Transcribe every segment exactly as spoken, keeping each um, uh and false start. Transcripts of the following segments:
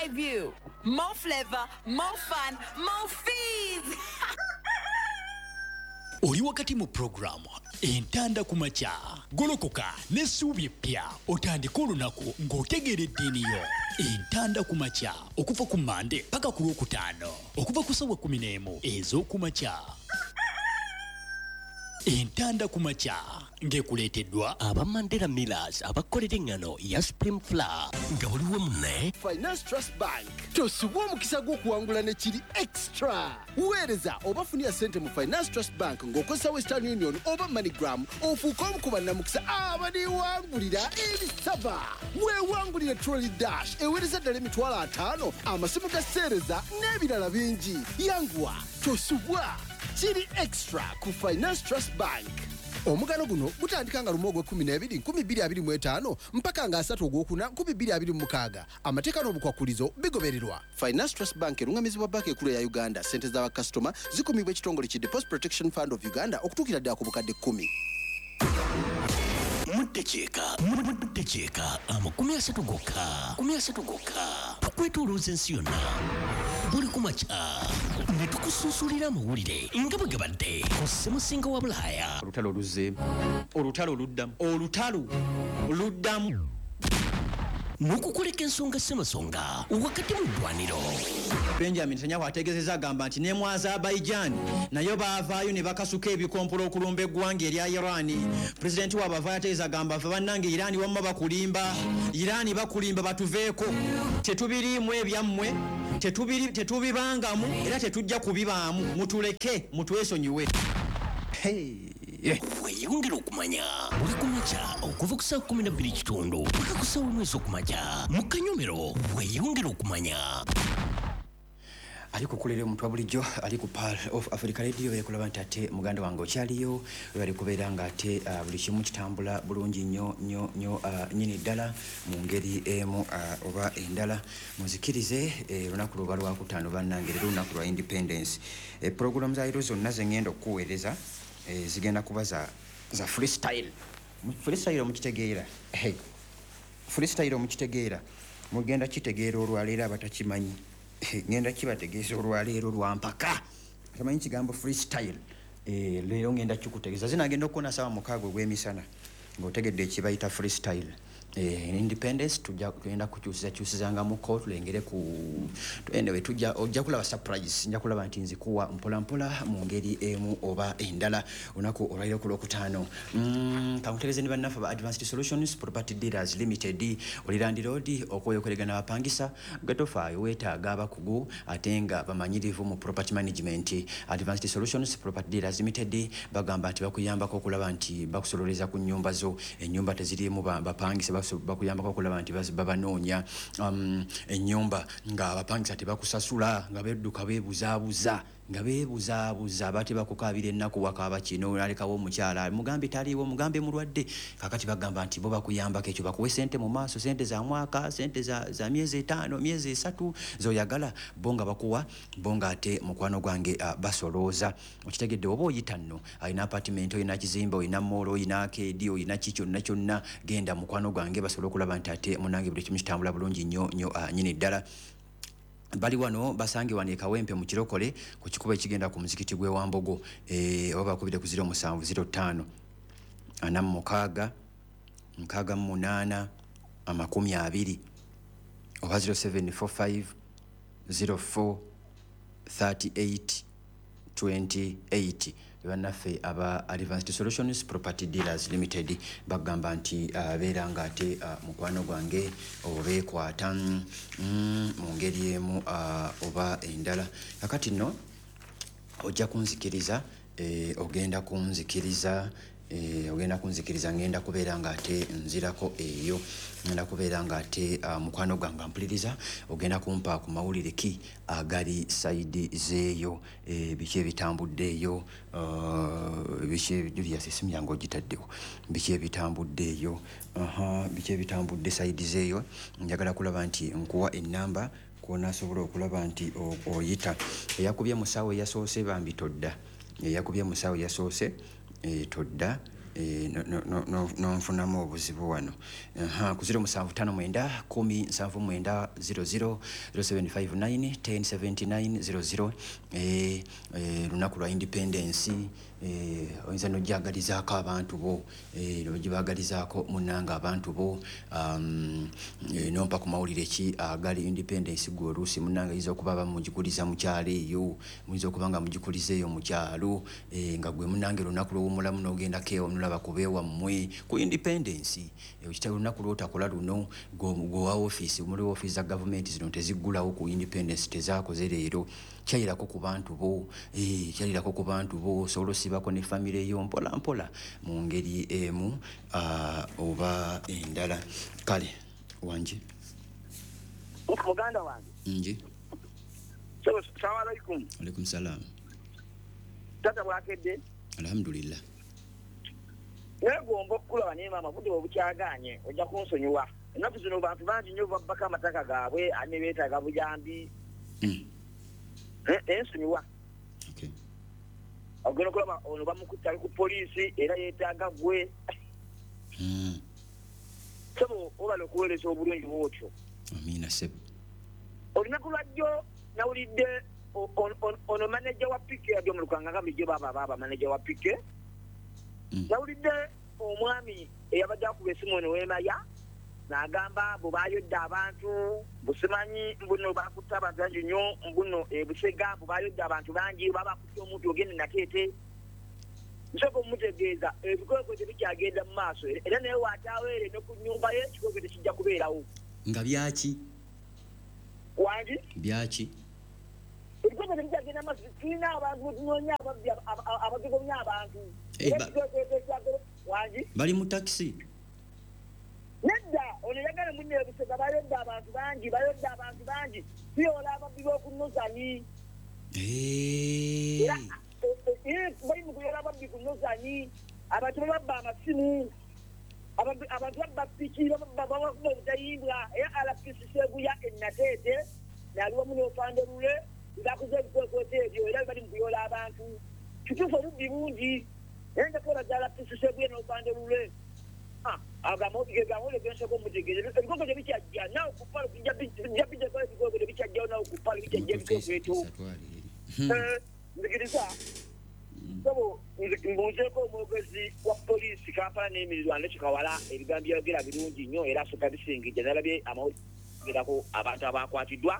debut. More flavor, more fun, more fees. Oli wakati mu puroguramu Entanda ku Makya. Golokoka n'essuubi eppya, otandike olunaku ng'otegeera eddiini yo. Entanda ku Makya, okuva ku Mande paka ku Lwokutaano, okuva ku ssaawa kkumi n'emu ez'okumakya. Entanda ku Makya ng'ekuleeteddwa aba Mandela Millers, abakolera eŋŋano ya Supreme Flour nga buli wamu ne Finance Trust Bank. Tosubwa omukisa gw'okuwangula ne kiri extra. Weereza oba funira ssente mu Finance Trust Bank ng'okozesa Western Union oba MoneyGram, ofuuke omu ku bannamukisa abaliwangulira ebisaba. Weewangulire Trolley Dash eweereza ddala emitwalo ataano, amasimu ga seereza n'ebirala bingi. Yanguwa, tosubwa, kiri extra ku Finance Trust Bank. Omugano guno gutandika nga lumu ogw'ekkumi n'ebiri nkumi bbiri abiri mu etaano mpaka nga asatu ogwokuna nkumi bbiri abiri mu mukaaga. Amateeka n'obukwakulizo bigobererwa. Finance Trust Bank erungamizibwa Banka Ekulu eya Uganda. Ssente z'abakasitoma zikumibwa ekitongole ki Deposit Protection Fund of Uganda okutuukira ddala ku bukadde kkumi. Muddakiika muddakiika amakumi asatu gokka, makumi asatu gokka, tukwetoolooza ensi yonna buli ku makya ne tukusunsulira amawulire nga bwe gabadde ku Ssemusinga wa Bulaaya. Olutalo luzzeemu, olutalo luddamu, olutalo luddamu. N'okukoleka ensonga ssemasonga wakati mu ddwaniro. Benjamin Netanyahu ategeezezza, agamba nti ne mu Azerbaijan nayo baavaayo ne bakasuka ebikompola okulumba eggwanga erya Iran. Pulezidenti waabwe avaayo ategeeza, agamba, "Ffe bannange Iran wamma bakulimba, Iran bakulimba, batuveeko, tetubiriimu ebyammwe, tetubiri- tetubibangamu era tetujja kubibaamu, mutuleke, mutwesonyiwe." Hey. Weeyongere okumanya buli ku makya okuva ku ssaawa kumi na bbiri kitundu paka ku ssaawa emu ez'okumakya mu kanyomero. Weeyongere okumanya. Ali kukulera omuntu wa bulijjo ali ku Pearl of Africa Radio, ekulaba nti ate muganda wange okyaliyo, webali kubeera nga ate uh, buli kimu kitambula bulungi nnyo nnyo nnyo uh, nnyini ddala mu ngeri emu uh, oba endala. Muzikirize, eh, olunaku luba lwakutaano bannange, leero olunaku lwa Independence. eh, Puroguramu za leero zonna zengenda okukuweereza eh, zigenda kuba za, za freestyle. Freestyle omukitegeera? Hey. Freestyle omukitegeera? Mugenda kitegeera olwaleero. Abatakimanyi ngenda kibategeeza olwaleero lwampaka. Tamanyi kigambo freestyle? Eh, leero ngenda kikutegeeza. Zinagenda okukona sawa mukaaga ogw'emisana ng'otegedde ekibayita freestyle. Eh, independence tujja tugenda kukyusiza kyusizangamuko tulengere ku, anyway, tujja ojja kulaba surprise, nja kulaba nti nzikuwa mpola mpola mu ngeri emu oba endala olunaku olwaliro ku Lwokutaano. mm, kankutegeeze ne bannaffe ba Advanced Solutions Property Dealers Limited, oli landlord okwoyokolegana abapangisa, gwe tofaayo, weetaaga abakugu ate nga bamanyirivu mu property management. Advanced Solutions Property Dealers Limited bagamba nti bakuyambako okulaba nti bakusololeza ku nnyumba zo, ennyumba teziriimu ba- bapangisa, baso- bakuyambako okulaba nti bas- babanoonya um, ennyumba nga abapangisa tebakusasula, nga bedduka beebuzaabuza, nga beebuzaabuza, bate bakukaabira ennaku, wakaaba kino, nalekawo omukyala, mugambe taliiwo, mugambe mulwadde. Kakati bagamba nti bo bakuyambako ekyo, bakuwe sente mu maaso, sente za mwaka, sente za, za myezi etaano, myezi esatu zoyagala, bo nga bakuwa, bo nga ate mukwano gwange uh, basolooza. Okitegedde? Oba oyita nno alina apartment, olina kizimbe, olina mall, olina arcade, olina ki kyonna kyonna, genda mukwano gwange basobole okulaba nti ate munange buli kimu kitambula bulungi nnyo nnyo uh, nyini ddala. Bali wano, basange wano e Kawempe mu Kirokole, ku kikubo ekigenda ku muzikiti gw'e Wambogo. eh, oba bakubire ku zero musanvu zero ttaano ana mu mukaaga nkaaga mu munaana amakumi abiri oba zero seven four five zero four thirty-eight twenty-eight. Bannaffe aba Advanced Solutions Property Dealers Limited bagamba nti uh, beera nga ate uh, mukwano gwange obeekwata mm, mu ngeri emu uh, oba endala. Kakati nno ojja kunzikiriza, eh, ogenda kunzikiriza, eh, ogenda kunzikiriza, ngenda kubeera nga ate nzirako eyo, ngenda kubeera nga ate uh, mukwano gwange ampuliriza, ogenda kumpa ku mawulire ki agali side zeeyo, eh, biki ebitambudde eyo, uh, biki? Julius, esimu yange ogitaddewo. Biki ebitambudde eyo? Aha, biki ebitambudde side zeeyo? Njagala kulaba nti nkuwa enamba kwonasobola okulaba nti oyita. Eyakubye musawo eyasoose, bambi todda. Eyakubye musawo eyasoose, e, todda. eh, nonfunamu obuzibu wano. Aha, ku zero musanvu tano mwenda kumi nsanvu mwenda zero zero zero seven five nine ten seventy nine zero zero. Eh, eh, lunaku lwa independence, eh, oyinza n'ojagalizaako abantu bo, eh, n'ogibagalizaako munnanga abantu bo, um, eh, nompa ku mawulire ki agali independence gwe oluusi munnanga yinza okuba bamugikuliza mu kyalo eyo, muyinza okuba nga mugikuliza eyo mu kyalo, eh, nga gwe munnange lunaku lw'owummulamu n'ogendako eyo nolaba ku beewammwe ku independence. Eh, okitaba olunaku lw'otakola luno gwe wa ofiisi, muli ofiisi za gavumenti zino teziggulawo ku independence, tezaakoze leero. Kyayirako ku bantu bo, eh, kyayirako ku bantu bo, osobola osibako ne famire yo mpola mpola mu ngeri emu uh, oba endala. Kale wanje muganda wange nje. Salamu alaikum. Alaikum salam. Tata bwakedde? Alhamdulillah. Negomba okukulaba naye maama budde obukyagaanye ojja kunsonyiwa. Ennaku zino bantu bangi nnyo babbako amataka gaabwe ane beetaaga buyambi. Mm. Ensonyiwa. Okay. Ogenda okulaba ono bamukutte ali ku poliisi era yeetaaga gwe. Mm. Sebo obala okuweereza obulungi bw'otyo. Amiina sebo. Olunaku lwajjo nawulidde ono maneja wa P K yadde mu Lukanga nga bulijjo baaba baaba maneja wa P K. Mm. Nawulidde omwami eyabadde akuba essimu ono w'Emaya n'agamba bwe baayodde abantu busimanyi mbuno bakutte abantu bangi nnyo mbuno e Busega bwe baayodde abantu bangi baba bakutte omuntu ogende Nateete. Nsooka omutegeeza ebikwekwe tebikyagenda mu maaso era naye waataaweere ne ku nnyumba ye ekikwekwe tekijja kubeerawo. Nga byaki? Wangi? Byaki? Ebikwekwe tebikyagenda mu maaso, tulina abantu betunoonya ababbi abatugomya abantu. Eh, ba- Wangi? Bali mu takisi? Nedda ono yagala munne e Busega bayodde abantu bangi, bayodde abantu bangi, tuyoola ababbi b'oku Nozani. Eh. Era bali mu kuyoola ababbi ku Nozani, abantu bababba amasimu, abantu babba piki, bababba babakuba obutayimbwa. Era R P C Seguya e Nateete n'ali wamu n'Ofande Lule bakuze ebikwekweto ebyo era bali mu kuyoola abantu. Kituufu obubbi bungi naye nja kwebaza R P C Seguya n'Ofande Lule. Agamawulire gensooka omutegeeza ebikwekweto tebikyajja naawe ku palo bijja bijjako ebikwekweto tebikyajjawo naawe ku palo bikyajja ebikwekweto. Nzikiriza sebo mbuuzeeko omwogezi wa poliisi Kampala n'emirirwano Kikawala ebigambo byayogera birungi nnyo era asooka bisingijja nalabye amawulire abantu abakwatiddwa.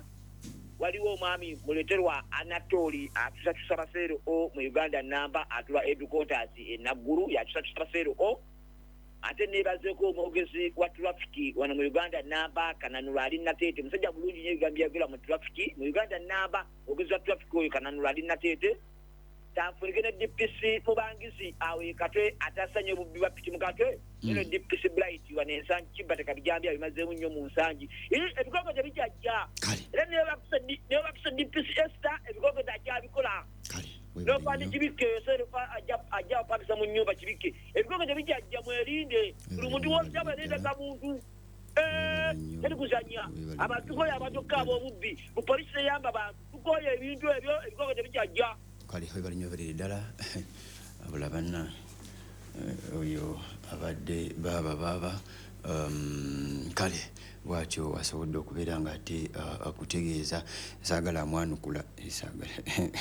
Waliwo omwami Muleterwa Anatoli atusakyusa baseero o mu Uganda namba atula headquarters e Naggulu yakyusakyusa baseero o. Ate neebazeeko omwogezi wa trafiki wano mu Uganda namba Kananula ali Nateete, musajja bulungi nnyo ebigambo byayogera mu trafiki mu Uganda namba. Omwogezi wa trafiki oyo Kananula ali Nateete tanfunike ne D P C Mubangizi awo e Katwe atasanye obubbi bwa piki mu Katwe eno D P C Bright wano Ensangi Kibataka bijambi abimazeemu nnyo mu Nsangi. Ebikwekweto tebikyajja era neebakuse D P C Esther ebikwekweto takyabikola. Nopandi kibike serufa ajja ajja opangisa mu nnyumba kibike ebikwekweto tebikyajja mwerinde buli muntu wonna abalinda muntu eh teri kuzannya abantu tukoye abantu okukaaba obubbi bu poliisi eyamba abantu tukoye ebintu ebyo ebikwekweto tebikyajja. Kale webale nnyo oberere ddala abula banna oyo abadde baaba baaba um, kale bwatyo asobodde okubeera nga ate uh, akutegeeza saagala amwanukula saagala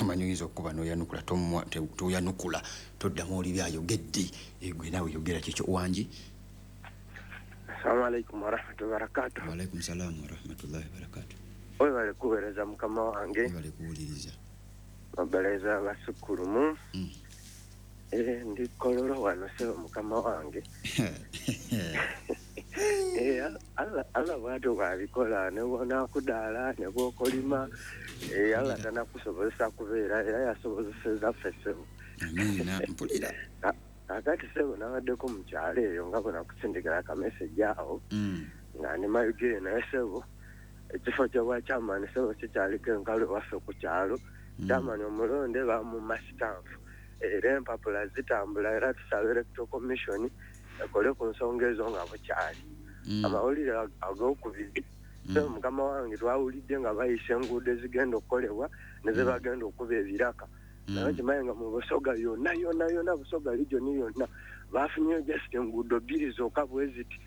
manyi oyinza okuba n'oyanukula toyanukula toddamu oli byayogedde gwe naawe yogera kikyo. Wangi? Assalamu alaikum warahmatullahi wabarakatuh. Wa alaikum salaam warahmatullahi wabarakatuh. Webale kuweereza mukama wange. Webale kuwuliriza. Mabaleza abasukulumu. Mm. Eh, ndi Kololo wano sebo mukama wange. Eh, Allah Allah bw'atyo bw'abikola ne bw'onaakudaala ne bw'okolima eh, Allah tanakusobozesa kubeera era yasobozeseza ffe sebo. Amiina, mpulira. Kaakati sebo nabaddeko mu kyalo eyo nga bwe nakusindikira akameseji awo Mm. nga ndi Mayugere naye sebo ekifo ky'obwa chairman sebo kikyaliko enkalu ewaffe ku kyalo. Chairman omulonde bamumma sitampu era empapula zitambula era tusaba electoral commission ekole ku nsonga ezo nga bukyali. Mm. Amawulire ag'okubiri sebo mukama wange twawulidde nga bayisa enguudo ezigenda okukolebwa ne ze bagenda okuba ebiraka. Naye kimanyi nga mu Busoga yonna yonna yonna Busoga region yonna Bafunyeyo just enguudo bbiri zokka bwe ziti,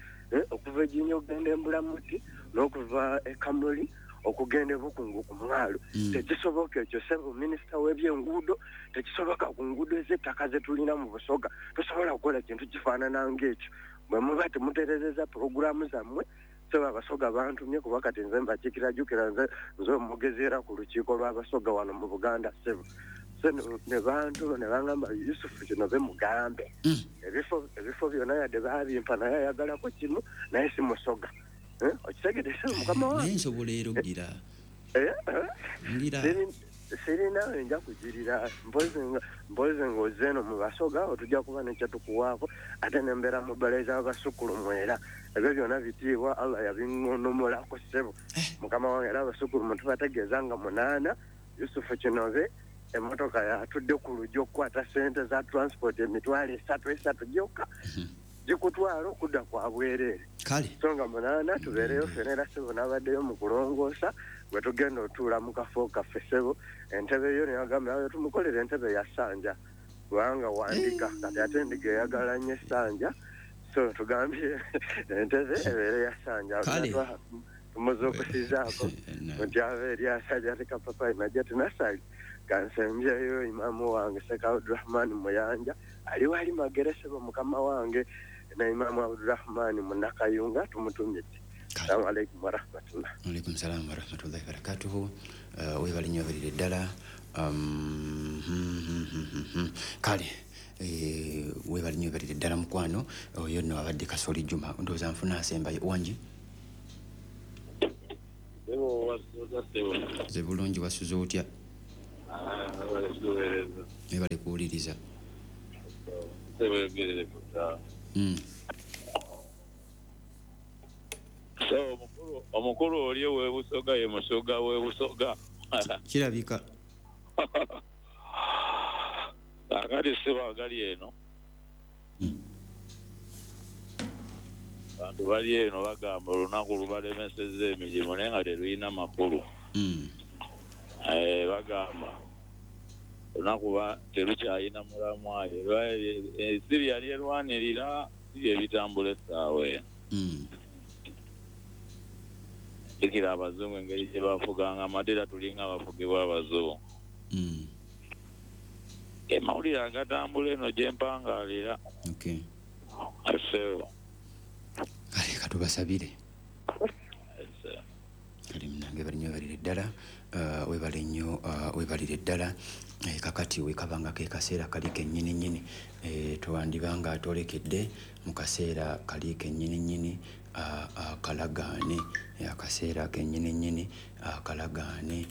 okuva Eginya okugenda Embulamuti n'okuva e Kamuli okugenda Ebukungu ku mwalo. Tekisoboka ekyo ssebo minisita w'ebyenguudo, tekisoboka ku nguudo ez'ettaka ze tulina mu Busoga. Tosobola kukola kintu kifaanana ng'ekyo. Bwe muba temutereezezza pulogulaamu zammwe, ssebo Abasoga bantumye kuba kati nze mbakiikira, jjukira nze nze omwogezi era ku lukiiko lw'Abasoga wano mu Buganda ssebo. So ne bantu ne bangamba Yusufu kino be mugambe. Ebifo ebifo byonna yadde baabimpa naye ayagalako kimu naye si Musoga. Okitegedde ssebo mukama wange? Naye nsobola era okugira. Ngira. Sirina nja kugirira mpozi mpozi ng'ozze eno mu Basoga otujja kuba nekyetukuwaako ate nembeera mu bbala abasukulumu era ebyo byonna bitiibwa Allah yabingonomolako ssebo mukama wange. Era abasukulumu tubategeeza nga munaana Yusufu Kinobe emmotoka yatudde ku luggi okukwata ssente za transport emitwalo esatu esatu gyokka gikutwala okudda kwa bwereere. So nga munaana tubeereyo ffena era ssebo n'abaddeyo mu kulongoosa bwe tugenda otuula mu kafo kaffe ssebo. Entebe yo neyagamba tumukolere entebe ya ssanja kubanga wandiga kati ate endiga eyagala nnyo essanja, so tugambye entebe ebeere ya ssanja. Tumuzuukusizaako nti ava eri asajja ate kapapayi najja tunasali kansembyeyo imaamu wange Sheikh Abdurahman Muyanja ali wali Magere ssebo mukama wange na imaamu Abdurahman Munakayunga tumutumye. Assalamu alaikum warahmatullah. Alaikum salam warahmatullahi wabarakatuhu. Webale nnyo obalire ddala. Kale webale nnyo obalire ddala mukwano. Oyo nno abadde Kasoli Juma. Ndowooza nfuna asembayo wangi. Nze bulungi, wasuze otya? Webale kuwuliriza. So omukulu oli ow'Ebusoga ye Musoga w'Ebusoga. Kirabika. Akati ssebo agali eno. Abantu bali eno bagamba olunaku lubalemesezza emirimu naye nga terulina makulu. Bagamba olunaku terukyalina mulamwa, ensi byali erwanirira si bye bitambula essaawa eno. Jjukira abazungu engeri gye bafuganga amate era tulinga abafugibwa abazungu. Amawulire agatambula eno gye mpangaalira. Ssebo. Kale katubasabire. Kale munange bali nnyo balire ddala, webale nnyo webalire ddala. Kakati wekabanga ke kaseera kali kennyini nnyini, twandibanga atwolekedde mu kaseera kali kennyini nnyini akalagaane, akaseera kennyini nnyini akalagaane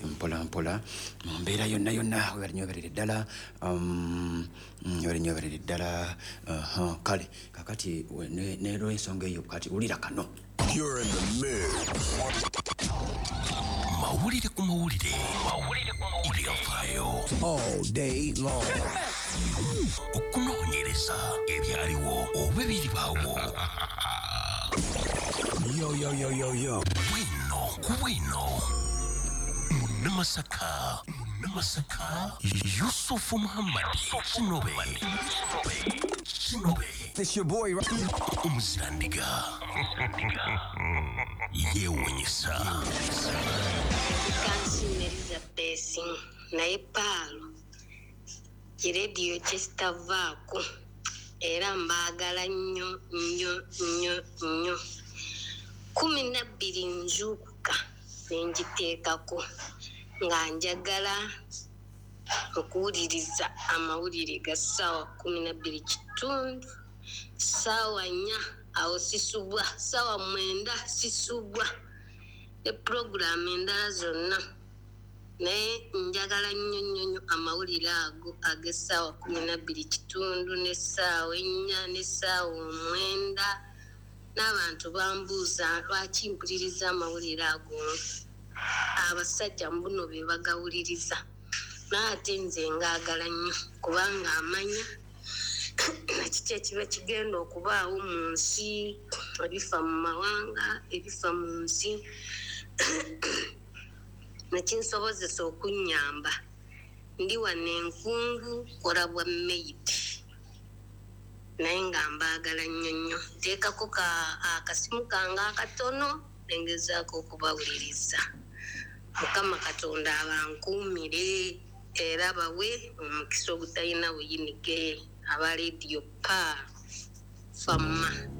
mpola mpola mu mbeera yonna yonna. Webale nnyo webalire ddala, webale nnyo webalire ddala. Kale kakati n'olwensonga eyo kati wulira kano. You're in the mood. Mawulire ku mawulire. Mawulire ku mawulire. Ebyafaayo. All day long. Okunoonyereza ebyaliwo oba ebiribaawo. Yo, yo, yo, yo, yo. Bwino ku bwino. Munnamasaka. Munnamasaka. Yusufu Muhammad. Kinobe. Kinobe. It's your boy. Omuzirandiga. Yeewuunyisa. Kansiime Elizabeth naye Paalo kirediyo kyesitavaako era mbaagala nnyo nnyo nnyo nnyo. Kumi na bbiri nzuukuka ne ngiteekako nga njagala okuwuliriza amawulire ga ssaawa kumi na bbiri kitundu, ssaawa nnya awo sisubwa, ssaawa mwenda sisubwa ne pulogulaamu endala zonna. Naye njagala nnyo nnyo nnyo amawulire ago ag'essaawa kumi na bbiri kitundu n'essaawa ennya n'essaawa omwenda. N'abantu bambuuza lwaki mpuliriza amawulire ago. Abasajja mbuno be bagawuliriza, naye ate nze ngaagala nnyo kubanga amanya nakiki ekiba kigenda okubaawo mu nsi, ebifa mu mawanga, ebifa mu nsi, nekinsobozesa okunnyamba. Ndi wano enkungu kola bwa maid. Naye nga mbaagala nnyo nnyo. Nteekako akasimu kange akatono nengezaako okubawuliriza. Mukama Katonda abankuumire era bawe omukisa ogutalina buyinike. Aba Radio Pearl Fama.